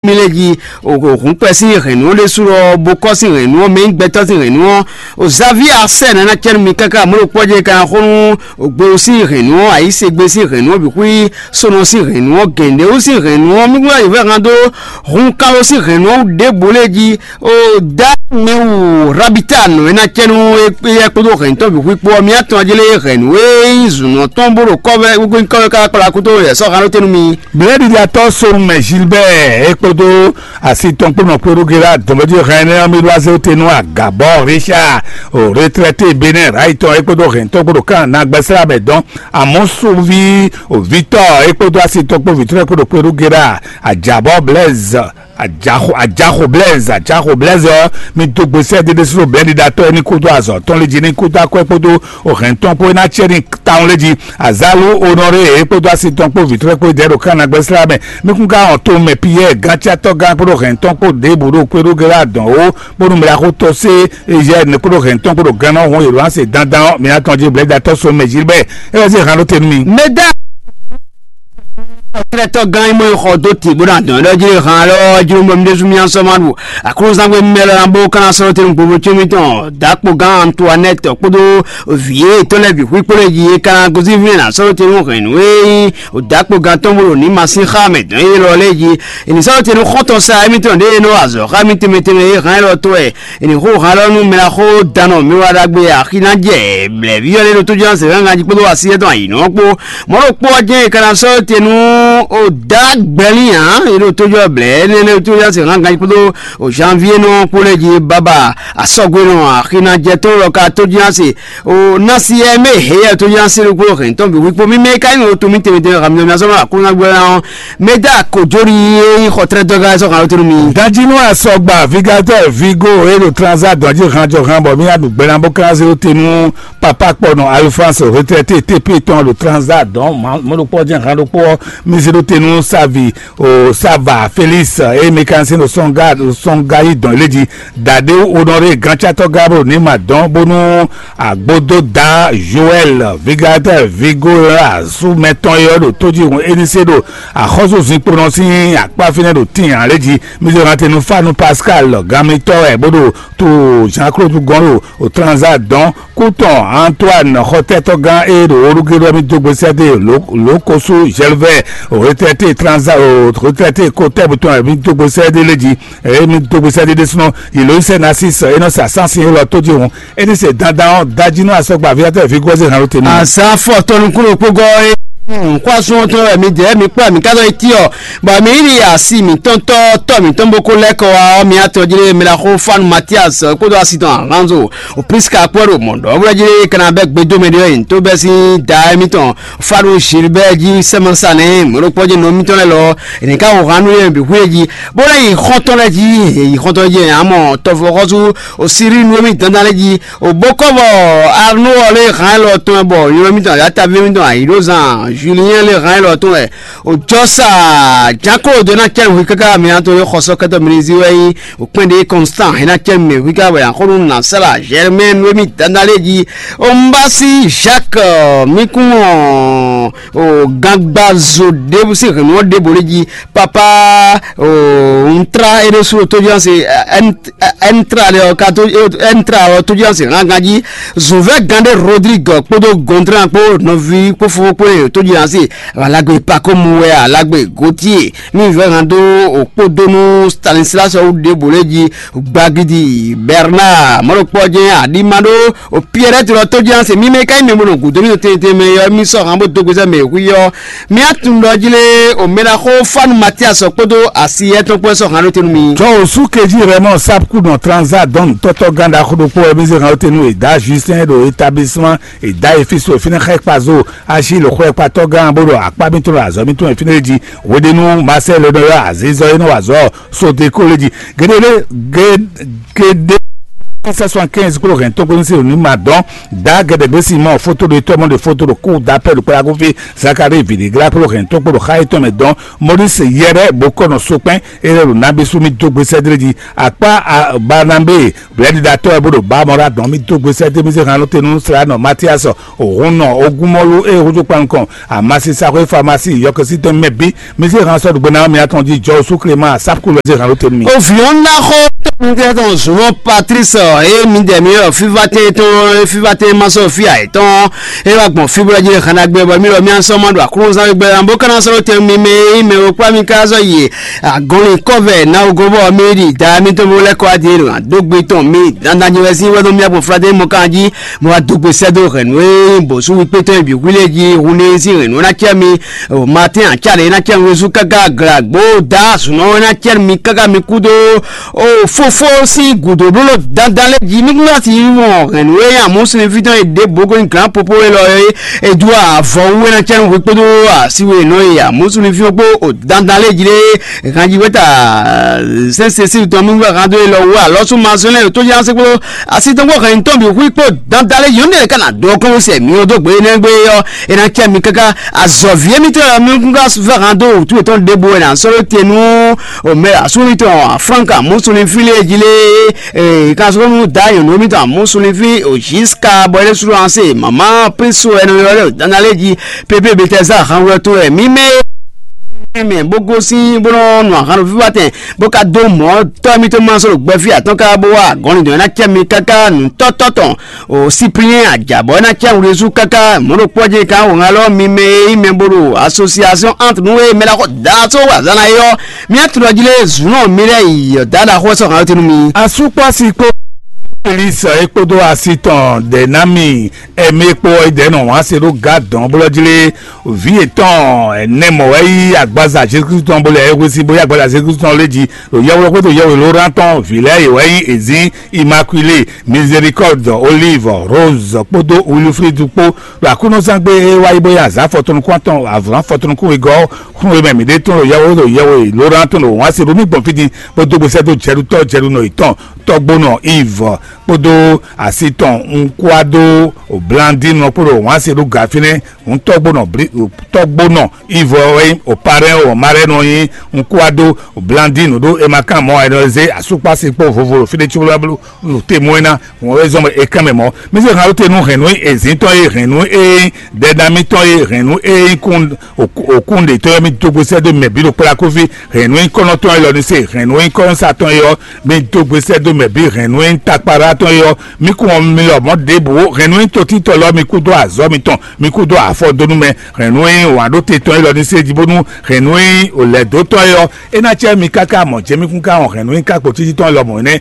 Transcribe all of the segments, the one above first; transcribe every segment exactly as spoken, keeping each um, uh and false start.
mì lɛ́ɛ jí, o hǔnkpɛ sín hɛ̌nnu ɔ́ ɖésú ɔ́, bó kɔ́ sín hɛ̌nnu ɔ́, mɛ nyí gbɛtɔ́ sín hɛ̌nnu ɔ́, o Xavier Arsène ná cɛ́nú mi káká mɔ̌ ɖokpó ɔ́ jɛ ka xó nú o Gbewú sín hɛ̌nnu ɔ́, Ayísegbe sín hɛ̌nnu ɔ́ bǐ xwí, Sónɔ sín hɛ̌nnu ɔ́, Gɛ̌ndɛwú sín hɛ̌nnu ɔ́, mí gbɔdɔ yi fɛ hɛn dó hun Kalo sín hɛ̌nnu ɔ́ wú ɖěbǔ lɛ́ɛ jí. O dá mɛ wu Rabita nɔ e ná cɛ́nú éyɛ́ kpódó hɛ̌nnu tɔn bǐ xwí kpó ɔ́, mì atɔn jí lé hɛ̌nnu e nyí zǔnɔ tɔn bó ɖo kɔ́vɛ́ kɔ́ kɔ́ kpla kútó yɛ sɔ́ hɛn ɖó tɛ́ nú mi. Blɛ̌ɖiɖatɔ́ Sɔnmɛ Gilbert é kpódó asi tɔn kpó nɔ kpé ɖó Gérard dɔ̌nmɛjí hɛn énɛ́ ɔ́, mì ɖó azé tɛ́ nú Agabɔ Richard, o retraité Bénin Rayi tɔn é kpódó hɛ̌nnu tɔn kpó ɖo kan ná gbɛ́slá mɛ dɔn. Amɔ̌ sunví Victor é kpódó asi tɔn kpó Victor é kpódó kpé ɖó Gérard, Ajabɔ Blaise, Ajaxo Ajaxo Blaise Ajaxo Blaise ɔ́, mi dó gbe sɛ́ dédé sínú blɛ̌ɖiɖatɔ́ é ní kúdó azɔ̌ tɔn lé jí ní kúdó akwɛ́ kpódó ohɛ̌n tɔn kpó é ná cɛ ní tawun lé jí. Azalu Honoré é kpódó asi tɔn kpó vǐtrɔ́ kpó dɛ̌ ɖo kan ná gbɛ́slá mɛ. Mi kún ká wɔn to mɛ Piyɛ́ɛ gáncátɔ́ gán kpódó hɛ̌n tɔn kpó ɖěbǔ ɖo kpé ɖó gɛ́ adɔn ó, bónú mɛ ɖaxó tɔ́ sé Ezyɛ́ɛ kpódó hɛ̌n tɔn kpó ɖo gán nɔ hún yě ɖo anse dandan ɔ́, mi ná tɔn jí blɛ̌ɖiɖatɔ́ sɔnmɛ Gilbert é wɛ zé hǎn ɖó te nú mi. Mɛdá Sɛ́lɛ́tɔ́ gán e mɔ e xɔ dó tǐ bó ná dɔn ɖɔ jí han lɔ jló bɔ mi ɖésú mì sɔ́ ma ɖu aklúzán gbé mɛ lɔ ná bó ka ná sɔ́ tɛ́nú gbogbo có mitɔn dǎkpo gán Antoinette kpódó vǐ e tɔn lɛ́ɛ bǐ xwí kpó lɛ́ɛ jí é ka ná gosín fínɛ́ ná sɔ́ tɛ́nú hɛ̌nnu e nyí dǎkpo gán tɔn bó ɖo ní ma sín xá mɛ dɔn é lɔ lɛ́ɛ jí. È nǐ sɔ́ tɛ́nú xɔ́ntɔn sa émítɔn ɖě e nɔ wa azɔ̌ xá mì tɛnmɛ tɛnmɛ é hán élɔ́ tó wɛ. È nǐ xo han lɔ nú mɛ ná xó danɔ mi wá ɖagbe axi ná jɛ blɛ̌ví ɔ́ lé ɖo tójúná se hɛngán jí kpódó así yɛ́tɔn ayǐ nɔ kpó. Mɔ̌ ɖokpó ɔ́ jɛ́n è ka ná sɔ́ te nú o dǎ gbɛlín ǎ, è ɖo tójúná blɛ̌ énɛ́ lé tójúná se hɛngán jí kpódó o janvier nɔ kpó lɛ́ɛ jí bábà asɔ́gbénɔ axi ná jɛ tó lɔ ka tójúná se o nasi ɛ mɛ heyɛ tójúná se ɖokpó hɛn tɔn bǐ wíkpó mímɛ́ ká nyí o to mí tɛnmɛ tɛnmɛ hàn mí sɔ́ ma kó ná gbɛlá ɔ́. Meda Kojori e nyí xɔtrɛdɔgá sɔ́ kan lótenu mi. Danjinu asɔgba vigatɔ vigo e ɖo transa dɔn jí hanjɔ han bɔ mí aɖu gbɛnabɔkánzé lótenu papa kpɔnɔ Alphonse retraité T P tɔn ɖo transa dɔn mɔɖokpɔ jɛn han ɖokpɔ mí zé lótenu savi o sava Félix e mí kan sin ɖo sɔnga ɖo sɔnga yi dɔn ilé jí. Dade Honoré gancatɔ Gabriel ní ma dɔn bónú Agbododa Joel Vigatɛl Vigola súmɛtɔn e ɔ́ ɖo tójihún Enise ɖo axɔ́súzinkpo nɔ sín akpá fínɛ́ ɖo tíin ǎ lé jí. Mizɔnatenu Fanu Pascal ganmitɔ́ wɛ bó ɖo to Jean Claude gɔ́n ɖo Transa dɔn. Kútɔn Antoine xɔtɛ́tɔ́gán e ɖo Olugéɖɔ mì dó gbe sɛ́ dó lǒkosu Gervais retraité Transa retraité Kotɛ́bu tɔn wɛ mì dó gbe sɛ́ dó lé jí. Eye mi dó gbèsè ɖiɖe súnɔ Eloise Narcisse e nɔ sa sánsin élɔ́ tó jí hǔn. É ní se dandan ɔ́ dají nú asɔgba aviatɔ́ Vigɔ́zi hɛn ló te nú. Azǎn fɔ tɔnukúnɖokpógɔ́ e nǔxwásúnɔtɔ́ wɛ mi jɛ mi kpɔ́ mi ká dɔ́ yi tí ɔ, bɔ mi yi asi mǐtɔn tɔ́ tɔ́ mǐtɔn bó kó lɛ́ kɔ wá ɔ́, mi atɔn jí mi la xó Fanu Matias kpódó asi tɔn Alonso o Priska kpɔ́ ɖo mɔ̌ ɖɔ wlɛ́ jí kana bɛ́ gbedómɛ ɖé ɔ́ yi tó bɛ́ sín da émítɔn Fanu Gilbert jí sɛ́mɛsa nɛ́ mɔ̌ ɖokpɔ́ jí nɔ mítɔn lɛ́ɛ lɔ è nǐ ká xo hǎn nú yě bǐ xwé jí. Bó lɛ́ yi xɔ́ntɔn lɛ́ɛ jí, yě yi xɔ́ntɔn jí amɔ tɔvɔxɔsú Osiri nú émí dandan lɛ́ɛ jí. Òbókɔ́bɔ Arnó ɔ́ lé hǎn élɔ́ tɔn wɛ bɔ nylɔ́ mítɔn Adátaví mítɔn Ayǐɖózan Julien lé hǎn élɔ́ tɔn wɛ. Òjɔsa Jáklo dó ná cɛ́ hwi káká mi ná to yó xɔsɔ́kɛtɔ́ mi ní zí wɛ nyí òkpɛ́n ɖé Constant é ná cɛ́ mɛ hwi ká wɛ axɔ́nú nǎ sala Germain nú émí dandan lɛ́ɛ jí. Ombasi Jacques mi kún ɔn o gangbazo ɖěbǔ sín hɛ̌nnu ɔ́ ɖěbǔ lé jí. Papa, un tra é ɖésú tójúanse, un tra ɖe ɔ́ ka tó, un tra ɔ́ tójúanse hángan jí. Zǔvɛ́ gán ɖé Rodrigue kpódó Gondran kpó nɔví kpó fofó kpó e tójúanse Alagbe Pakomu wɛ Alagbe Gautier ní vɛ́ hàn dó òkpódó nú Stanislas ɔ́ wú ɖěbǔ lé jí. Gbagidi Bernard mɔɖokpɔ jɛ́n aɖíma ɖó Pierrette lɔ tójúanse mímɛ́ ka nyí mɛ bó nɔ gǔdo mì ɖo tɛnmɛ tɛnmɛ ɔ́ mì sɔ́ hàn bó dó gbezɛ mɛ hwí ɔ́. Mía tunwun ɖɔ jí lé o mɛ ná xó Fanu Matias ɔ́ kpódó asi étɔn kpó wɛ sɔ́ hǎn ɖó te nú mi. Jɔ wǒ sú kejí Raymond Sapku nɔ Transa dɔn nǔtɔ́tɔ́ gán ɖaxó ɖokpó wɛ mì zé hǎn ɖó te nú Eda Justin ɖo établissement Eda Efisɔ fínɛ́ xá kpazo asi lǒxɔ́kpatɔ́ gán bó ɖo akpá mítɔn ɖo azɔ̌ mítɔn e fínɛ́ jí. Hweɖénu Marcel nɔ ylɔ́ azǐzɔ e nɔ wa azɔ̌ Sodeko lé jí. Geɖé lé geɖé Sɛ soixante-quinze kpó hɛn tó kpó ní se ní ma dɔn. Da gɛdɛgbé Simɔn foto ɖo tɔmɔ ɖe foto ɖo kú da pɛ ɖo kpla kó fi Zakari vǐɖiglá kpó hɛn tó kpó ɖo xa yětɔn mɛ dɔn. Moris yɛrɛ bó kɔ nɔ sokpɛn erɛ ɖo nabi sú mi dó gbe sɛdré jí. Akpá Barnabé blɛɖiɖatɔ́ wɛ bó ɖo ba mɔ ɖa dɔn mi dó gbe sɛdré mi se hàn ló te nú Slanɔ Matias, Hun nɔ ogúnmɔlú e húzú kpan nukɔn amasisaxwé famasi yɔkɔsítɔn mɛ bí. Mi sí han sɔ́ ɖugbe ná mì atɔn jí jɔ sú Clément Sapkul wɛ sí han ló tenu mi. Oviɔn ná xɔ tɔmɔtɛ tɔn zunɔ Patrice, e mi dɛ mi yɔ fivatɛ tɔn fivatɛ ma sɔ fi ayɛ tɔn, e wa gbɔn fibra jí hana gbɛ bɔ mi lɔ mi asɔ ma ɖo aklúnzán gbɛ an bó kana sɔrɔ tɛ mi mɛ e mɛ o kpla mi ka zɔ yi agɔnlin kɔvɛ na ogo bɔ mi ɖi da mi tɔn bo lɛ kɔ adi e ɖo adógbe tɔn mi dandan nyɛ wɛ sí wɛ nɔ mi agbɔn flatɛ mɔ kan jí. Mo wá dó gbe sɛ́ dó hɛ̌nnu e nyí bǒsúwíkpétɔ́ e bǐ hwilé jí hun ní sín hɛ̌nnu ná cɛ́ mi. Matín acáɖě ná cɛ́ mi wezú káká glǎgbó dá azǔnɔ ná cɛ́ mi káká mi kú dó. O fófó sín gǔdo bló dandan lé jí nukúnɖásí wɔn hɛ̌nnu e nyí amɔ̌súnifí tɔn e ɖěbǔ ko nyí glǎn popo élɔ́ e é dú avɔ wú é ná cɛ́ mi hwe kpódó asíwe nɔ e amɔ̌súnifí ɔ́ kpó o dandan lé jí lé. Ganjiweta sɛnsɛn sín tɔn mi wɛ hando e lɔ wú alɔ sú ma zɔn lɛ tó yá se kpló asi tɔn kpó hɛn tɔn bi hu kpó dandan lɛ yɔn ne ka na dɔ kɔn sɛ mi o dó gbe ne gbe yɔ e na cɛ mi kaka azɔ vie mi tɔ mi kun ka vɛ hando tu tɔn de bo na sɔrɔ te nu o mɛ asu mi tɔn franka musu ni fili e ji le e ka sɔrɔ nu da yɔn mi tɔn musu ni fi o jiska bɔ ele suru anse mama priso ɛnɛ yɔ le dandan lɛ ji pepe betɛza han wɛ to ɛ mi mɛ mɛ bó gosín bó nɔ nu ahan ɖo fífá tɛn bó ka dó mɔ̌ tɔ́ mítɔn ma sɔ́ ɖo gbɛfí atɔ́n ká bó wá gɔ̌n dɔn ná cɛ mi káká nǔtɔ́tɔ́ tɔn o Cyprien Adjabɔ ná cɛ wlezú káká mɔ̌ ɖo kpɔ́ jɛ ká wǒ ŋa lɔ mi mɛ e nyí mɛ bó ɖo association entre nú e mɛ ɖaxó da só wazán ná é ɔ́, mía tunɔ jí lé zǔnɔ mi lɛ́ yi ɔ̌ da ɖaxó sɔ́ hǎn tunu mi. Asúkpɔ́si kpó Felix é kpódó asi tɔn Dɛnámi Ɛmɛ kpó ɔ́, é dɛ̌ nɔ wǎn se ɖó gǎ dɔ̌n blɔ́ jí lé. Vǐ yětɔn ɛnɛ mɔ̌ wɛ yí agbaza Jezu Kristu tɔn bó lɛ é hwesí bó yí agbaza Jezu Kristu tɔn lé jí ɖo yɛhweɖɔ kpódó yɛhweɖóná tɔn vǐ lɛ́ɛ yě wɛ nyí Ezin, Imakwilée, Mizerikɔ́dɔ, Olív, Róz kpódó Wiliflídu kpó. Ɖo aklúnɔzán gbe é wá yí bó yí azǎn afɔtɔnukún atɔn avlǎn afɔtɔnukún wegɔ́ ɔ́, xlún e mɛ mǐ ɖe tɔn ɖo yɛhweɖó ɖo yɛhweɖóná tɔn ɖo wǎn se ɖo mì gbɔn fí din bó dó gbe sɛ́ dó Jɛɖutɔ́ Jɛɖunɔ yětɔn tɔ́gbónɔ Iv kpódó asi tɔn Nkwado Blandinu kpó ɖo wǎn se ɖó gǎ fínɛ́. Hǔn tɔ́gbónɔ tɔ́gbónɔ Iv wɛ nyí Oparɛ́n, Omarɛ́nu ɔ́ nyí Nkwado Blandinu ɖó è ma kán mɔ̌ ǎ, è nɔ zé asúkpási kpó vovo ɖo fí ɖé cóbóblo ɖo te mɔ é ná hǔn wɛ zɔ́n bɔ è kán mɛ mɔ̌. Mí se hǎn ɖó te nú hɛ̌nnu e è zǐn tɔn e hɛ̌nnu e nyí dɛɖamítɔn e hɛ̌nnu e nyí kún òkúnɖetɔ́ ɔ́, mì dó gbe sɛ́ dó mɛ bǐ ɖo kplá kófí. Hɛ̌nnu e nyí kɔ́nɔtɔn élɔ́ ní se, hɛ̌nnu e nyí kɔ́nɔsatɔn é ɔ́, mì dó gbe sɛ́ dó mɛ bǐ. Hɛ̌nnu e nyí takpaɖátɔn é ɔ́, mì kún ɔ́ mi lɔ mɔ̌ ɖěbǔ. Hɛ̌nnu e nyí totítɔ́ lɔ, mì kúdó azɔ̌ mitɔn, mì kúdó afɔdónú mɛ. Hɛ̌nnu e nyí wǎn ɖó te tɔn élɔ́ ní se jí bónú hɛ̌nnu e nyí lɛ̌dótɔ́ é ɔ́, é ná cɛ mi káká mɔ̌ jɛ mì kún ká wɔn hɛ̌nnu e nyí kákpo títí tɔn élɔ́ mɔ̌ nɛ́.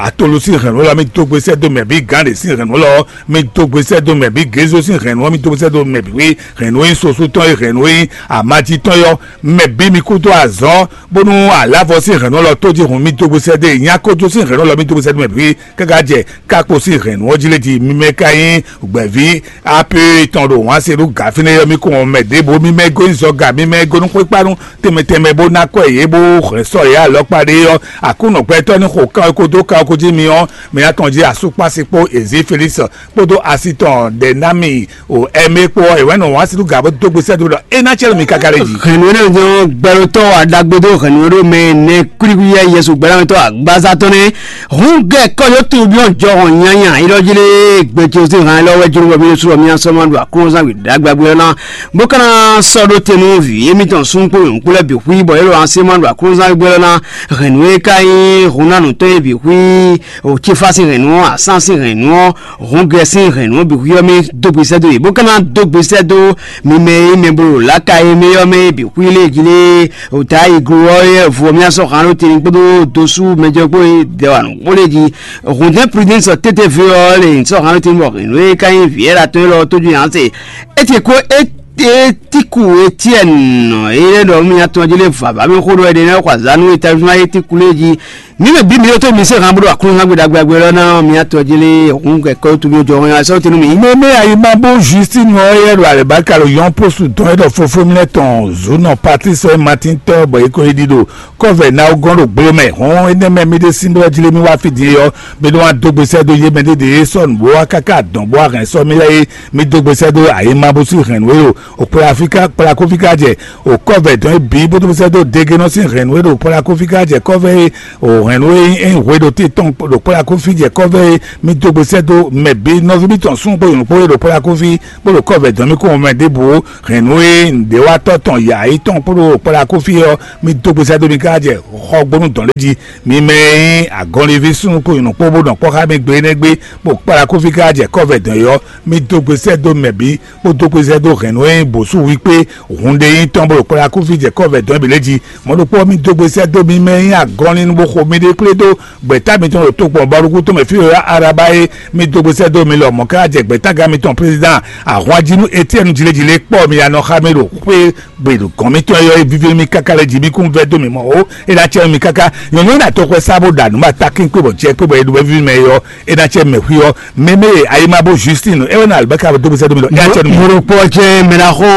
Atolu sín hɛ̌nnu élɔ́, mì dó gbe sɛ́ dó mɛ bǐ. Gǎnɖě sín hɛ̌nnu élɔ́, mì dó gbe sɛ́ dó mɛ bǐ. Gézo sín hɛ̌nnu ɔ́, mì dó gbe sɛ́ dó mɛ bǐ. Hɛ̌nnu e nyí soso tɔn é, hɛ̌nnu e nyí amají tɔn é ɔ́, mɛ bǐ mi kúdó azɔ̌, bónú alǎvɔ sín hɛ̌nnu lɔ tó jí hun mì dó gbe sɛ́ dó e, nyákójó sín hɛ̌nnu lɔ mì dó gbe sɛ́ dó mɛ bǐ. Káká jɛ kákpo sín hɛ̌nnu ɔ́ jí lé jí mi mɛ ka nyí gbɛ̌ví ape tɔn ɖo wǎn se ɖó gǎ fínɛ́ ɔ́, mi kún mɛ ɖěbǔ, mi mɛ gó nyí zɔga, mi mɛ gó nú xwékpánu tɛnmɛ tɛnmɛ bó ná kɔ yě bó hɛn sɔ́ yě alɔkpa ɖé ɔ́, Aklúnɔ gbɛtɔ́ ní xo kan ɔ́ kó dó kan ɔ́ kó jí mi ɔ́, mi ná tɔn jí asúkpási kpó Ezí Felísi kpódó asi tɔn Dɛnámi o Ɛmɛ kpó ɔ́, è wɛ̌ nɔ wǎn sín nú gǎ bó dó gbe sɛ́ dó ɖɔ é ná cɛ́ nú mi káká lɛ́ɛ jí. Hɛ̌nnu énɛ́ jɔ́n gbɛɖotɔ́ aɖagbedó hɛ̌nnu e ɖó mɛ nɛ́ kwíkwíyɛ́ Yɛsu gbɛ́nátɔ́ agbázá tɔn nɛ́. Hǔn gɛ kɔ́ yǒ tunwun byɔ́ jɔhɔn nyanya élɔ́ jí lé gbɛtɔ́ sín han élɔ́ wɛ jló bɔ mì ɖésú bɔ mì ná sɔ́ ma ɖo aklúnɔzán wěɖagbágbé ɔ́ ná, bó ka ná sɔ́ ɖó te nú vǐ émítɔn súnnu kpó nyɔ̌nu kpó lɛ́ɛ bǐ xwí bɔ é ɖo así ma ɖo aklúnɔzán wěgbé ɔ́ ná. Hɛ̌nnu e ka nyí hun ná nǔtɔn e bǐ xwí o Cefá sín hɛ̌nnu ɔ́, Asán sín hɛ̌nnu ɔ́, Hǔn gɛ́ sín hɛ̌nnu ɔ́ bǐ xwíyɔ́ mì dó gbe sɛ́ dó yě, bó ka ná dó gbe sɛ́ dó mi mɛ e nyí mɛ bo ɖo lǎka e mɛ ɔ́ mɛ é bǐ xwí lé jí lé. Ota yi glo ɔ́ yɛ vo ɔ́ mì sɔ́ hǎn ɖó tɛnmɛ kpódó dosú mɛjɔ kpó e dɛ wa nǔ kpó lé jí. Hǔndɛ́n Prudence tete ví ɔ́ lè sɔ́ hǎn ɖó tɛnmɛ bɔ hɛ̌nnu e ka nyí vǐ ɛ́ ɖo atɔn élɔ́ tójú yǎ se. É te kó é Etiku Etienne, eye ɖɔ mía tɔn jí lé vava mi xó ɖɔ ɛɖe nɛ xɔ azanu eta zuma Etiku lé jí. Mi mɛ bí mi yótó mi se hàn bó ɖo aklúnú hàn gbé ɖagbe ɖagbe lɔ ná mía tɔn jí lé hun kɛkɛ tó mi jɔ hàn sɔ tenu mi. Mɛmɛ ayimabo Justine ɔ yɛ ɖo alɛbaka ɖo yɔn postu dɔn yɛ ɖɔ fofo mi lɛ tɔn zunɔ Patrice Martin tɔ bɔ eko yi ɖi ɖo kɔvɛ na gɔn ɖo gblo mɛ hɔn énɛ́ mɛ mi ɖe sín bɔ jí lé mi wá fi din yɔ mi ɖo wá dó gbesɛ dó yé mɛ ɖé ɖe sɔn bó wá káká dɔn bó wá hɛn sɔ mi lɛ yé mi dó gbesɛ dó ayimabo sí hɛn wé ɖo òkpla Afrika kpla kófí ká jɛ òkɔvɛ dɔn é bǐ bó dó gbesɛ dó dégénɔ sín hɛn wé ɖo kpla kófí ká jɛ kɔvɛ é ò hɛn wé é hwe ɖo tí tɔn ɖo kpla kófí jɛ kɔvɛ é mi dó gbesɛ dó mɛ bǐ nɔví mi tɔn sún kpó yǒnú kpó é ɖo kpla kófí kpó ɖo kɔvɛ dɔn mi kó mɛ ɖěbǔ hɛn nú é nǔɖéwatɔ́ tɔn yǎ yi tɔn kpó ɖo kpɔ́ɖa kófí ɔ́, mi dó gbesɛ dó mi ká jɛ xɔgbónú dɔn lé jí. Mi mɛ e nyí agɔnliví súnnu kpo nyɔ̌nu kpó bó nɔ kpɔ́ xá mi gbe énɛ́ gbé, bó kpɔ́ɖa kófí ká jɛ kɔ́vɛ dɔn é ɔ́, mi dó gbesɛ dó mɛ bǐ, bó dó gbesɛ dó hɛ̌nnu e nyí bǒsú wí kpé hun ɖé nyí tɔn bó ɖo kpɔ́ɖa kófí jɛ kɔ́vɛ dɔn é bǐ lé jí. Mɔ̌ ɖokpó ɔ́, mi dó gbesɛ dó mi mɛ e nyí agɔnlin bó xo miɖée kplé dó gbɛ̌ta mitɔn ɖo tokpɔn bɔluxú tɔn mɛ fí e araba é mi dó gbesɛ dó mi lɔ mɔ̌ ká jɛ gbɛ̌tagán mitɔn président ahwanjínú Etiɛnu jlejǐlé kpɔ́ mi ya nɔ xá mi ɖo xwé gbe ɖo gɔ̌n mitɔn e ɔ́ é víví mi káká lɛ́ jí mi kún vɛ́ dó mi mɔ ó é ná cɛ mi káká nyɔ̌nu e ná tɔxwɛ sá bó ɖa nǔ ma takín kpé bɔ jɛ kpé bɔ é ɖo wɛ́ví mɛ é ɔ́ é ná cɛ mɛ xwí ɔ́ mɛmɛ e ayimabo Justine é wɛ ná alibɛ́ka dó gbesɛ dó mi lɔ é ná cɛ nú mi. Moropo jɛ mɛɖaxó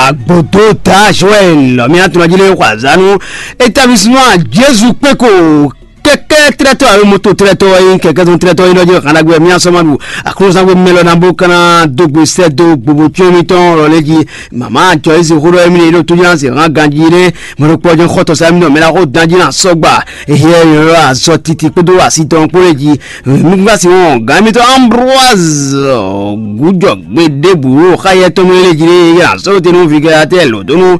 agbodo ta Joël miatɔnɔjile xɔ azanu établissement Jésus kpeko kɛkɛ trɛtɔ alo moto trɛtɔ yin kɛkɛ zɔn trɛtɔ yin lɔ jí xana gbɛ mia sɔma ɖu aklúzangbe mɛ lɔ na bó kana dó gbe sɛ dó gbogbo tsyɔn mitɔn lɔ lɛ jí mama jɔ esi xó ɖɔ emi ne ɖo tó jí na se hàn ganji ne mɛ ɖo kpɔ jɛ xɔtɔ sa mi nɔ mɛ na xó dan jí na sɔgba ehe yɔ azɔ titi kpódó asi tɔn kpó lɛ jí Nugbasi wɔn gǎn mitɔn Ambroise gújɔ gbe ɖěbǔ xá yɛ tɔn mɛ lé jí lé yɛ asɔ́ te nú vigɛ atɛ lǒ dó nú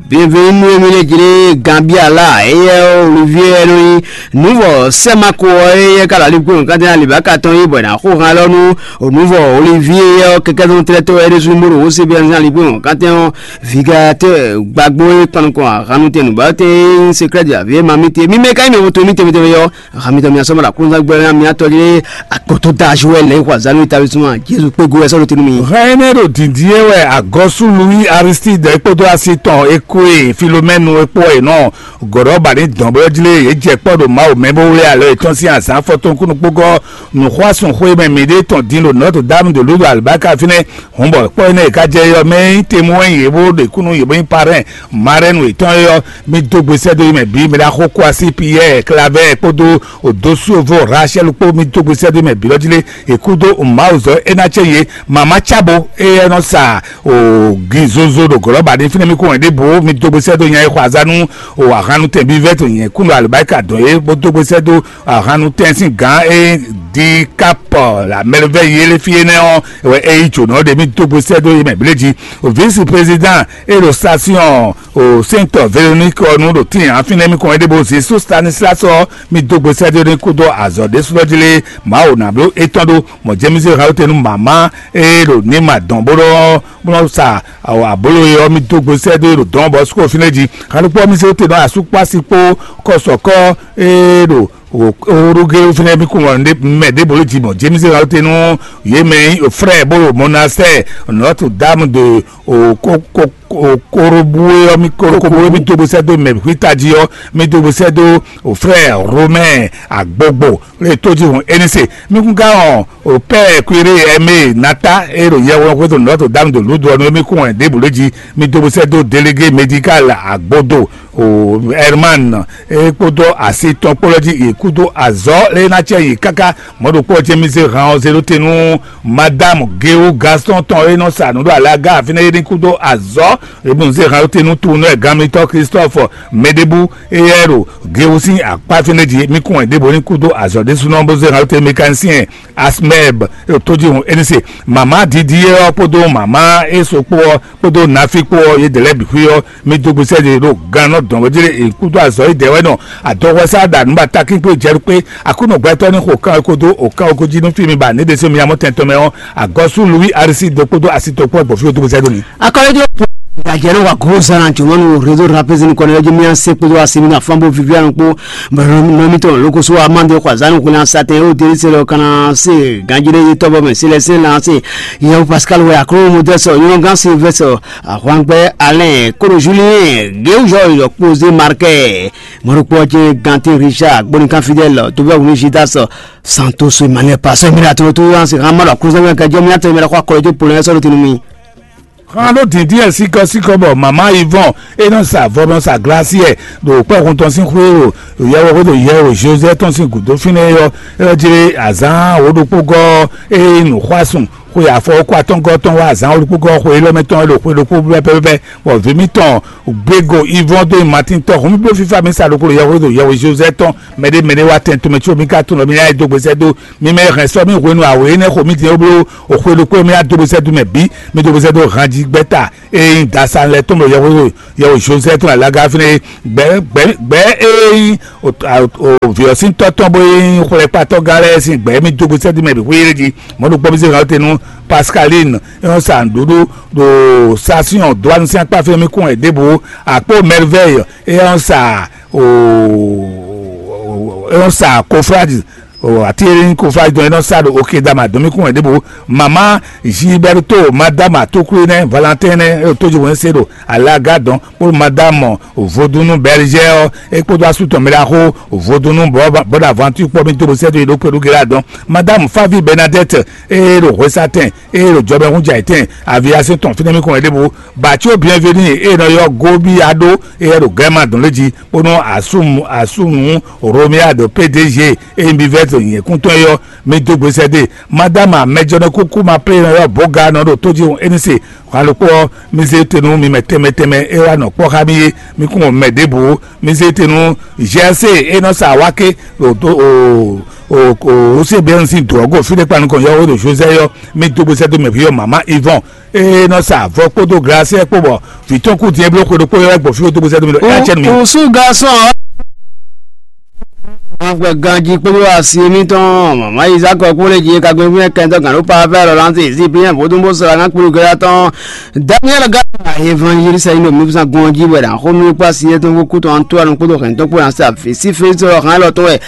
bienvenu emi lé jí lé Gambia la eyɛ Olivier nɔ nyi nuvɔ sɛmako ɔ eyɛ ka lali kpé nukatɛ na libaka tɔn yi bɔ na xó han lɔ nú nuvɔ Olivier yɛ kɛkɛ tɔn tlɛ tɔ ɛɖé sunu bó ɖo wose bia na li kpé nukatɛ ɔ vigɛ atɛ gbagbo yi kpanukɔ ahanu tɛ nubate secret de la vie ma mi te mi mɛ ka yi mɛ woto mi tɛmɛ tɛmɛ yɔ Hami tɔ mia sɔmɔ la kúnzá gbɛ na mia tɔ ɖe akɔtɔ da azu wɛ lɛ xɔ azanu ta bisuma Jesu kpe go wɛ sɔrɔ tenu mi. Hɛn énɛ́ ɖo dǐndín é wɛ agɔ́sú Louis Aristide kpódó asi tɔn Ekoe Filomɛnu e kpó wɛ nɔ gɔ̌ɖɔ ba ní dɔn bó jlé yě jɛ kpɔ́ ɖo Mawu mɛ bó wlé alɔ yětɔn sín azǎn fɔtɔn kúnukpógɔ́ nǔxwásún xwé mɛ mǐɖée tɔn din ɖo Notre Dame de Lourdes Albarka fínɛ́. Hǔn bɔ kpɔ́ énɛ́ e ka jɛ é ɔ́, mɛ e nyí temwú wɛ nyí yě bó ɖe kúnnu yě bó nyí parɛ́n marɛ́nu yětɔn é ɔ́, mi dó gbe sɛ́ dó mɛ bǐ, mi ná xo kó así Piyɛ́ɛ, Klavɛ́ɛ kpódó Odósuvo Rachel kpó, mi dó gbe sɛ́ dó mɛ bǐ lɔ jí lé. È kúdó Mawuzɔ́ é ná cɛ yě, mama cábo éyɛ́ nɔ sa ògǐ zozo ɖo gɔ̌lɔ́ba ní fínɛ́ mi kó wɛn ɖěbǔ, mi dó gbe sɛ́ dó nya e xɔ azá nú o ahannu tɛnbí vɛ́ to nyɛ kúnnu alibáríkà dɔn é, bó dó gbe sɛ́ dó ahannu tɛn sín gǎn e di kápɔ la mɛlɛvɛ yele fí énɛ́ ɔ́ wɛ é yí jǒnɔ ɖe mì dó gbe sɛ́ dó yé mɛ bléjí. O vǐsi prezidán e ɖo station o sɛntɔ Véronique ɔ́ nu ɖo tíin afínɛ́ mi kɔn é ɖé bó Zesu Stanislas ɔ́ mi dó gbe sɛ́ dó ní kúdó azɔ̌ ɖésúnɔ jí lé Mawu ná bló étɔn ɖó mɔ̌ jɛ́mísí hɛn óte nú mǎmá e ɖo ní ma dɔn bó ɖɔ bó nɔ sa abolo e ɔ́ mi dó gbe sɛ́ dó e ɖo dɔn bɔ sukɔ fínɛ́ jí. Xanukpɔ mi se te nɔ asukpasi kpó kɔsɔkɔ e ɖo Orugé fínɛ́ mi kún mɛ ɖěbolo jí mɔ James Raoult nú yě mɛ nyí frère bó ɖo monastère Notre Dame de Korobu ɔ́ mi Korobu ɔ́ mi dó gbèsè dó mɛ xwíta jí ɔ́ mi dó gbèsè dó frère Romain Agbogbo lè tó jí hùn énísè mi kún ká hàn o père Kwiré Aimé Nata e ɖo yɛhweɖɔ xwé to Notre Dame de Lourdes ɔ́ nú émí kún hɛn ɖěbǔ lé jí mi dó gbèsè dó délégué médical Agbodo o Herman e kpódó asi tɔn kpó lɔ jí yě kúdó azɔ̌ lé ná cɛ yě káká mɔ̌ ɖokpó ɔ́ cɛ́ mi zé han ɔ́ zé ɖó te nú Madame Geo Gaston tɔn e nɔ sa nǔ ɖo alaga fínɛ́ é ní kúdó azɔ̌ e bú zé han ɖó te nú tunú ɛ gán mitɔn Christophe Mɛɖébú éyɛ́ ɖo Geo sín akpá fínɛ́ jí mí kún wɛ ɖěbǔ ní kúdó azɔ̌ ɖésúnɔ bó zé han ɖó te mécanicien Asmeb e ɖo tójihun éní se mama didi é ɔ́ kpódó mama é so kpó ɔ́ kpódó nafi kpó ɔ́ yědɛɛ lɛ́ɛ bǐ xwí ɔ́ mi dó gbèsè ɖe ɖo gannɔ dɔn wɛ jlé e kúdó azɔ̌ yi dɛwɛ nɔ adɔhwɛsá ɖa nǔ ba takín kpé jɛ kpé Aklúnɔ gbɛtɔ́ ní xo kan ko dó o kan ko jí nú fí mi ba ní ɖe sɛ́ mi amɔ́ tɛn tɔn mɛ ɔ́ agɔ́sú Louis Aristide kpódó asi tɔn kpó gbɔ̌ fí o dó gbèsè ɖo mi. Akɔlɔjɔ Gajɛ nɔ wa gozan na jɔmɔnu réseau rapézin kɔnɔ yɔji mi ase kpódó asimi na flambo vivianu kpó nɔmitɔ lokoso amande xɔ azanu xwena satɛn o deri se lɔ kana se ganjire yi tɔbɔ mɛ silɛsɛ na se yɛwu pascal wɛ akro modɛsɔ nyɔnɔgan silvɛsɔ ahwangbɛ alɛn koro julien gewu jɔ yɔ kpozé markɛ mɔɖokpɔ jɛ gante richard gbonikan fidèle tobɛ wuni jidas santos emmanuel pasɔ emmanuel atoro to yan se hama lɔ akro sɛbɛn kajɔ mi atɔ emmanuel kɔ akɔlɔ jɔ polonɛ sɔrɔ tinu mi. Xan ɖó dǐndín sikɔ́sikɔ́ bɔ mama yi vɔn é nɔ sa avɔ nɔ sa glasiɛ ɖo kpɛ́hun tɔn sín xwé o yɛwɔ xwé ɖo yɛ o josé tɔn sín gǔdo fínɛ́ ɔ́ é jí azǎn wǒ ɖokpó gɔ́ é nǔxwásùn xwe afɔ kó atɔ́ngɔ́ tɔn wá azǎn wǒ ɖokpó gɔ́ xwe élɔ́ mɛ tɔn é ɖo xwe ɖokpó pɛ́pɛ́pɛ́ bɔ vǐ mítɔn gbégo ivɔn dó nyi Matín tɔ́ hun mì bló fífá mi sa ɖokpó ɖo yɛhweɖo yɛhwe Jozɛ́ tɔn mɛɖé mɛɖé wá tɛn tomɛ có mi ka tunwun ɖɔ mi ná yi dó gbesɛ dó mi mɛ hɛn sɔ́ mi hwenu awě énɛ́ xo mi din ó bló o xwe ɖokpó mi ná dó gbesɛ dó mɛ bǐ mi dó gbesɛ dó han jí gbɛ́ta e nyí dasan lɛ́ɛ tɔn ɖo yɛhweɖo yɛhwe Jozɛ́ tɔn alaga fínɛ́ gbɛ̌ gbɛ̌ gbɛ̌ e nyí vǐ ɔ́ sín tɔ́ tɔn bó nyí xwlɛkpatɔ́ gán lɛ́ɛ sín gbɛ̌ mi dó gbesɛ dó mɛ bǐ xwé yé jí mɔ̌ ɖokpó mi zé hɛn ɔ́ te nú Pascaline é nɔ sa nǔɖuɖu ɖo Sasiɔn dó anu sín akpá fɛ́n mì kún wɛ ɖěbǔ akpó Merveille é nɔ sa é nɔ sa Kofradi ati e nyí Kofradi dɔn é nɔ sa ɖo Okedama dɔn mì kún wɛ ɖěbǔ mama Gilberto madame Atoklé nɛ́ Valentin nɛ́ é ɖo tójúwɛn se ɖo alaga dɔn kpó madame Vodunu Berger ɔ́ é kpódó asú tɔn mɛ ɖaxó Vodunu Bonaventure kpɔ́ mì dó bó sɛ́ dó yi ɖó kpé ɖó gé ɖo adɔn madame Favi Bernadette ée ɖo hwesatɛn ée ɖo jɔbɛ́húnjɛ ayǐtɛn aviasín tɔn fínɛ́ mì kɔn wɛ ɖěbǔ Batio Bienvenu ée nɔ ylɔ́ Gobiado ée ɖo Gɛ́ma dɔn lé jí bónú asúmu asúmu Romuald P D G ée nyi bivɛ́ to nyɛ̌kúntɔn é ɔ́ mì dó gbesɛ dó e. Madama mɛjɔnɔ kúkú ma plé nɔ ylɔ́ Boga nɔ ɖo tójihún éní se hwan ɖokpó ɔ́ mì zé te nú mi mɛ tɛnmɛ tɛnmɛ é wá nɔ kpɔ́ xá mì é mì kún mɔ mɛ ɖěbǔ mì zé te nú G S C é nɔ sa awáké ɖo tó o o o Osiebɛ́n sín dǒ ɔ́ go fí ɖé kpa nukɔn yɔ́wé ɖo Josɛ́ ɔ́ mì dó gbesɛ dó mɛ vǐ ɔ́ mama Ivɔn é nɔ sa avɔ kpódó glasiɛ kpó bɔ vǐ tɔn kú din é bló xwe ɖokpó yɔ́ wɛ gbɔ fí ɖó dó gbesɛ dó mì ɖɔ é acɛ nú mì. Usu garçon. Ganjí kpódó asi émítɔn mama Isaac kpódó jí kagbe fún kɛntɔ gǎn ló pa fẹ́ lɔ láti sí bí yẹn vodún bó sara ŋá kpódó gẹ́gẹ́ tɔn Daniel Gana évangéliste yìí nɔ mí fúnsa gɔn jí wɛ ɖa xó mí kpó asi yẹn tó kú tɔn tó anu kpódó hɛn tó kpó asi àfi sí fésitɔ hàn lɔ tó wɛ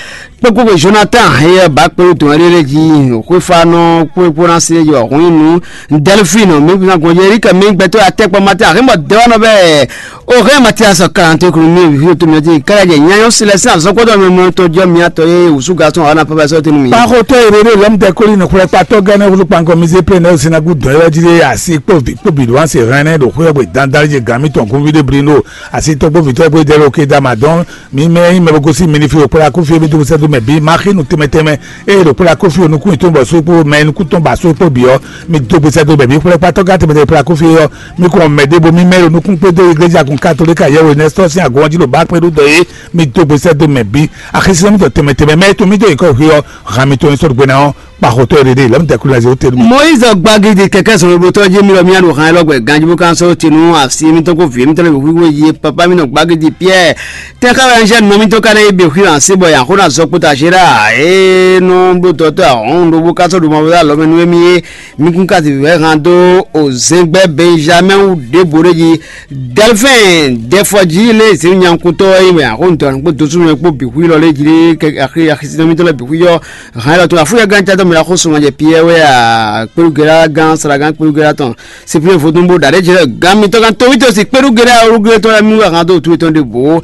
kpókpó Jonathan yɛ bá kpódó tɔn ɛɖé lé jí xwéfánɔ kpókpó ná sí yɔ hún inú Delphine mí fúnsa gɔn jí Eric mí gbɛtɔ atɛkpɔ Martin àhímɔ dɛwɔnɔ bɛɛ O hɛn Matias kalante kunu mi vi to mi ti kala jɛ nyanyɔ silɛ sin azɔkpɔtɔ mi mɔ to jɔ mi atɔ ye wusu gasɔn ana papa sɔ tenu mi. Kpaxotɔ erere lɔm tɛ koli ne xwlɛ kpatɔ gɛnɛ wulu kpankɔ mi ze pe ne sinagu dɔn yɔ ji de asi kpo vi kpo bi do anse hɛn ne do xwɛ gbe dandan je gami tɔn kun vi de bri no asi tɔgbo vitɔ gbe de lo ke dama dɔn mi mɛ yi mɛ bogosi mini fi o kpla ku fi mi to sɛ do mɛ bi ma xinu tɛmɛ tɛmɛ eye ɖo kpla kofi onukun yìí tó ń bɔ so kpo mɛ nukun tó ń ba so kpo bi ɔ mi do gbèsè do bɛ̀bí kpla kpatɔ gã tɛmɛ tɛmɛ kpla kofi ɔ mi kò mɛ ɖěbo mi mɛ onukun kpé dó iglesia kun katolika yɛwò nɛ sɔ sín agɔn jí ló bá kpé ɖó dɔ yé mi do gbèsè do mɛ bí axisínɔ mi tɔ tɛmɛ tɛmɛ mɛ tó mi dó ikɔ xi ɔ hàn mi tó ní sɔdɔ gbéná ɔ kpaxotɔ yɛ ɖeɖe lɛmi tɛ kúlẹ̀ zéro tɛlu mi. Moyiz gbagidi kɛkɛ sɔrɔ bó tɔjú mi lɔ mi aɖo hàn lɔgbɛ ganjibu kan sɔ tinu asi mi tɔgɔ vi mi tɔlɛ wíwí ye papa mi nɔ gbagidi Pierre Tɛnxá wɛ un jɛ nɔ mítɔn ka ná yi bǐ xwí hǎn sí bɔ yǎ xó ná zɔ kpóta Zera e nɔ bló dɔtɔ́ ahɔ̌nnu ɖokpó ká sɔ́ ɖo mavɔ dó alɔ mɛ nú émí é. Mi kún ka zǐn vǐvɛ́ han dó ozɛngbɛ́ Bɛnjamɛ́ɛn wú ɖěbǔ ɖé jí. Dɛlfɛ́ɛn Dɛfɔjí lé zǐn nyankúntɔ́ ɔ́ yi mɛ axɔ́ntɔ́ kpó dosúnɔ kpó bǐ xwí lɔ lé jí lé axi axisínɔ mítɔn lɛ́ɛ bǐ xwí ɔ́. Hǎn élɔ́ tɔn afúnyɛ gán cátɔ́ mɛ axó sɔmɔjɛ Piyɛ́ɛ wɛ a kpéɖugɛ́lá gán slágán kpéɖugɛ́lá tɔn Sipiyɔ́n vodún bó ɖa ɖě jɛ gán mitɔn gán towítɔ́ si kpéɖugɛ́lá olúgbé tɔn lɛ́ɛ mú hǎn dó tu etɔn ɖěbǔ.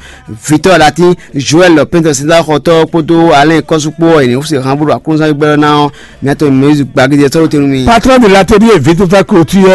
Vitɔ Latin, Joel pɛntɔ sida xɔtɔ kpódó Alain kɔsu kpó ɔ yě ní xúse hán bó ɖo aklúnzán gbɛ́ ná ɔ́, mía tɔn Moyiz gbagídí ɛ sɔ́ ɖó te nú mi. Patron de l'atelier vite fait clôture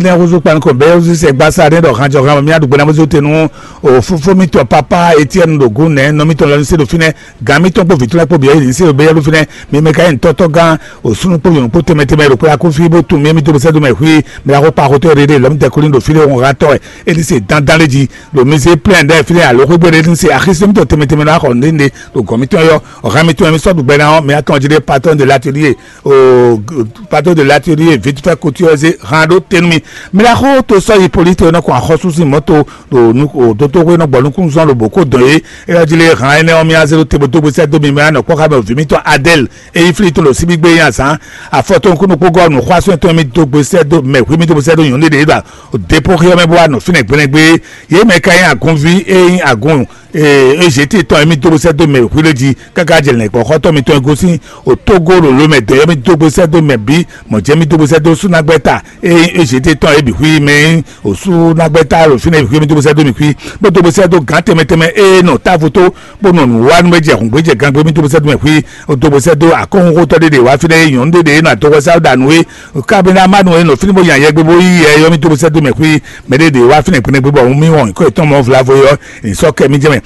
ne xuzu kpan ko bɛ xuzu se gbasa ne ɖɔ hanjɔ han mía ɖugbe na mozo te nu o fofo mitɔ papa Etienne ɖo gun nɛ nɔ mitɔ lɔ se ɖo finɛ gan mitɔ kpo vitɔ kpo biɛ yi se ɖo bɛ yɛ ɖo finɛ mi mɛ ka yi ntɔtɔ gan o sunu kpo yɔn kpo tɛmɛ tɛmɛ ɖo kpla ko fi bo tun mi mi to sɛ do mɛ hui mi la ko pa ko tɔ rere lɔ mi tɛ ko ni ɖo fi ɖe wɔn ha tɔ ɛ e ni se dandan le ji ɖo mi se plɛn ɖe fi ɖe alo xwegbe ɖe ni se axisɛmitɔ tɛmɛ tɛmɛ na xɔ nɖe nɖe ɖo gɔn mitɔ yɔ Ɔ̀gá mi tún ẹ̀mí sọ́dún gbẹ náà, mɛ atɔn jí dé patron de l'atelier, o patron de l'atelier vite fait couture zé hàn ɖó tenu mi. Mi la xó to sɔ yi police to nɔ kɔn axɔsu sin mɔto ɖo nu o dotoxwe nɔ gbɔ nukun zɔn ɖo boko dɔn ye. E ɔ́ jí lé hàn énɛ́ ɔ́ mi azé ɖo tebo dógbe sɛ dó mi mɛ anɔ kpɔ́ xá mɛ o vi mitɔn Adèle e yi fili to ɖo síbi Gbé nyi azǎn afɔtɔn kúnukúgɔ́ nǔxwásún tɔn mì dó gbe sɛ́ dó mɛ hwí mì dó gbe sɛ́ dó nyɔ̌nu ɖé ɖo dépɔ́ xyɔ́ mɛ bó wá nɔ fínɛ́ gblɛ́ngbé. Yě mɛ ka nyí agunví e nyí agun Ezéte tɔn e mì dó gbe sɛ́ dó mɛ hwí lé jí káká jɛ lɛ̌ngbɔ́xɔ́tɔ́ mitɔn e gosín Otógó ɖo lǒ mɛ dɔ̌yɔ́ mì dó gbe sɛ́ dó mɛ bǐ, mɔ̌ jɛ́n mì dó gbe sɛ́ dó súnágbɛ́ta e nyí Ezéte tɔn é bǐ xwí mɛ nyí osúnágbɛ́ta ɖo fínɛ́ bǐ xwí mì dó gbe sɛ́ dó mì xwí, bó dó gbe sɛ́ dó gǎn tɛnmɛ tɛnmɛ e nɔ távo tó bó nɔ nǔ wa nú é jɛ hǔngbéjɛ gangbé mì dó gbe sɛ́ dó mɛ xwí. Dó gbe sɛ́ dó akɔ́hunxótɔ́ ɖé ɖě wá fínɛ́ e nyɔ̌nu ɖé ɖě e nɔ adɔxɔsáwúɖanu é, kabenámanu e nɔ fínɛ́ bó nya yɛgbe bó yí yɛ ɔ́ mì dó gbe sɛ́ dó mɛ xwí. Mɛ ɖé ɖě wá fínɛ́ kpɛɖɛgbé bɔ mì wɔn nyǐkɔ yětɔn mɔ vlavo é ɔ́, è nǐ sɔ́ kɛ mì jɛ mɛ.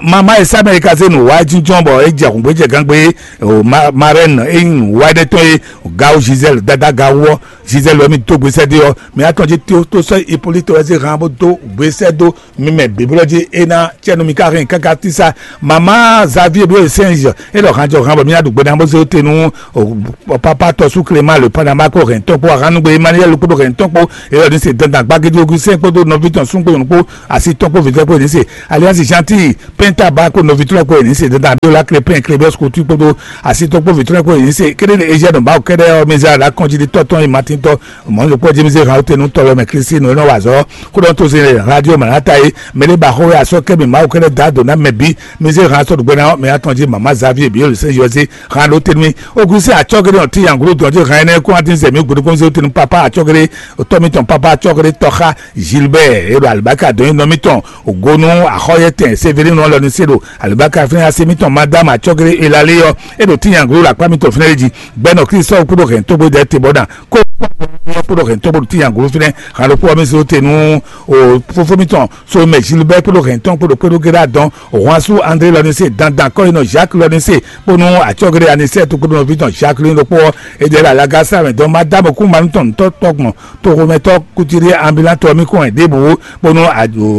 Mama e sá mɛ e ka zé nǔ wa jínjɔ́n bɔ é jɛ hǔngbéjɛ gangbé, marɛ́n e nyí nǔ wa ɖé tɔn e gawu Gisèle dada gawu ɔ́, Gisèle ɔ́ mì dó gbe sɛ́ dó ɔ́, mɛ atɔn jí tó sɔ́ Hippolyte wɛ zé han bó dó gbe sɛ́ dó mi mɛ bǐblɔ́ jí é ná cɛ́ nú mi ká hɛn káká tísá. Mama Xavier Bíyɔ́ Sɛnzɔ é ɖɔ hanjɔ han bɔ mì ná ɖu gbe ná bó zé te nú papa tɔsú Clément le Panama kó hɛn tɔn kpó ahannugbe Emmanuel kpódó hɛn tɔn kpó, é ɖɔ ní se dandan gbagédé Augustin kpódó nɔví tɔn sún kpó nyɔ̌nu kpó asi tɔn kpó vǐvɛ́ kpó ní se Alliance Gentil Penta ba kpó nɔví tɔn kpó ní se dandan Abiola Crépin Crébes Coutu kpódó asi tɔn kpó vǐ tɔn kpó ní se kéde Eziadu Mawu kɛ́ɖɛ́ ɔ́ mɛ zé aɖa kɔn jí ɖi tɔ́ tɔn yi Matin tɔn mɔ̌ ɖokpó jí mi zé han tenu tɔlɔ mɛ Kristi nɔ nɔ wa azɔ̌ kó ɖɔ tó se radio Manata yi mɛ ɖé ba xó wɛ asɔ kɛ mi Mawu kɛ́ɖɛ́ da do ná mɛ bí mi zé han sɔ ɖugbe ná mɛ atɔn jí mama Xavier bí yóò sɛ yɔ zé han ɖó tenu mi o Kristi atsɔ gɛɖɛ ɔn ti yanglo dɔn jí han ɛnɛ kó ati zɛ mi gbódó kó zé tenu papa atsɔ gɛɖɛ tɔ mi tɔn papa atsɔ gɛɖɛ tɔxa Gilbert e ɖo alibaka dɔn nyi nɔ mi tɔn o gonu axɔyɛtɛn Severino lɔ ni se ɖo alibaka fɛnɛ ase mi tɔn madame atsɔ gɛɖɛ elale yɔ e ɖo ti yanglo la kpa mi tɔn fɛnɛ jí gbɛnɔ Kristi sɔ kúɖo hɛn tógbó dɛ te bɔ dan kó kpɔ́ kpɔ́ hɛn tó bó ɖo ti nyaglo fínɛ́ han ɖokpó ɔ́ mɛ zé te nú o fófó mitɔn so mɛ Gilbert kpódó hɛn tɔn kpódó kpódó géɖá dɔn hwansu André lɔ ní se dandan kɔ́yinɔ Jacques lɔ ní se kpónú atsɔ́géɖé Anisɛ́ɛtu kpódó nɔví tɔn Jacques lɔ ní ɖokpó ɔ́ é ɖe la laga sá mɛ dɔn ma dá mɔ kú manú tɔn tɔ́ tɔgbɔn toxomɛtɔ́ kutiri ambulatɔ mi kɔn ɛ ɖěbǔ kpónú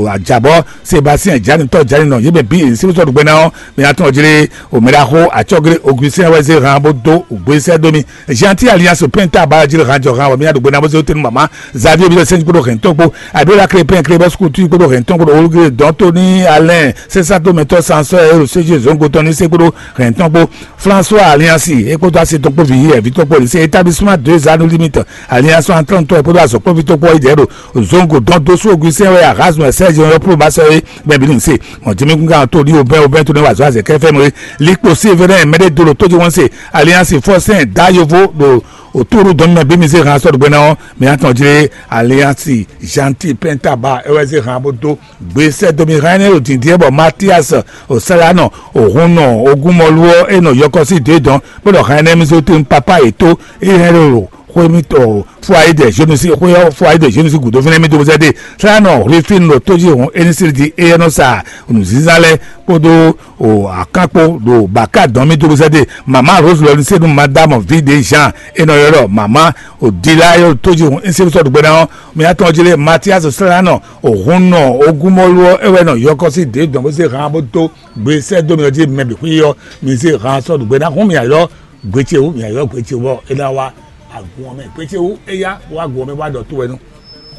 ajabɔ Sébastien Janitɔ Janinɔ yě mɛ bǐ è ní sínú sɔ́ ɖo gbɛ ná ɔ́ mɛ atɔn jlé omɛɖaxó atsɔ́géɖé Augustin wɛ zé han bó dó gbesẹ́ dó mì Gentil Alliance Penta Baraji le han jɔ han wɔ mi aɖo gbena bó se tenu mama Xavier bi sɛnji kpoɖo hɛn tɔn kpo Abiola Crépin Crébus Coutu kpoɖo hɛn tɔn kpo Olugre Dɔntoni Alain Sesa to mɛtɔ Sansɔ Ero Seji Zongo tɔn ni se kpoɖo hɛn tɔn kpo François Alliance ekpoto asi tɔn kpo vi yi ɛvi tɔn kpo lise établissement deux anneaux limite Alliance entente tɔn ekpoto azɔkpɔvi tɔn kpo idɛ ɖo Zongo dɔn dosu Augustin wɛ Erasme Serge yɔ pro basɛ ye bɛn bi ni se mɔ jimi gunga to di obɛn obɛn to ne wa zɔ azɛ kɛfɛ mɔ likpo Sévérin mɛɖe dolo tó jí wọ́n se Alliance Forcin da yovo ɖo òtúrú dɔn mɛ bí mi zé hàn sɔ̀rọ̀ gbɛ́ná ɔ́ mi atɔn jlé Alliance Gentil Penta ba ewɛ zé hàn bó dó gbèsè domi hàn ɛnɛ òdìdí ɛ bɔ Mathias Osalanɔ òhun nɔ ogun mɔlu ɔ́ e nɔ yɔkɔ sí dé dɔn bó ɖɔ hàn ɛnɛ mi zó tún papa yě tó e hɛn ɖo xwé mi tɔ fún ayé dɛ zénusí xwé ɔ́ fún ayé dɛ zénusí gǔdo fínɛ́ mi dó bó zɛ dé Salanɔ Rufin ɖo tó jí hɔn éní sí di e nɔ sa nǔzínzán lɛ́ɛ kpódó o akán kpó ɖo bǎká dɔn mì dó bó zɛ dé mama Rose lɔ ní se nú madame Vide Jean e nɔ ylɔ́ ɖɔ mama o Dila e ɖo tó jí hɔn éní sí sɔ́ ɖo gbé ná ɔ́ mi atɔn jí lé Mathias Salanɔ o hun nɔ ogun mɔlu ɔ́ e wɛ nɔ yɔkɔ sí dě dɔn bó zé hàn bó dó gbé sɛ́ dó mi ɔ́ jí mɛ bǐ xwí ɔ́ mi zé hàn sɔ́ ɖo gbé ná hún mi ayɔ gbé ce wú mi ayɔ gbé ce wú bɔ é ná wá agun ɔ́ mɛ gbé ce wú é yá wá agun ɔ́ mɛ wá ɖɔ tó wɛ nú.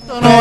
Tɔnɔ wɛ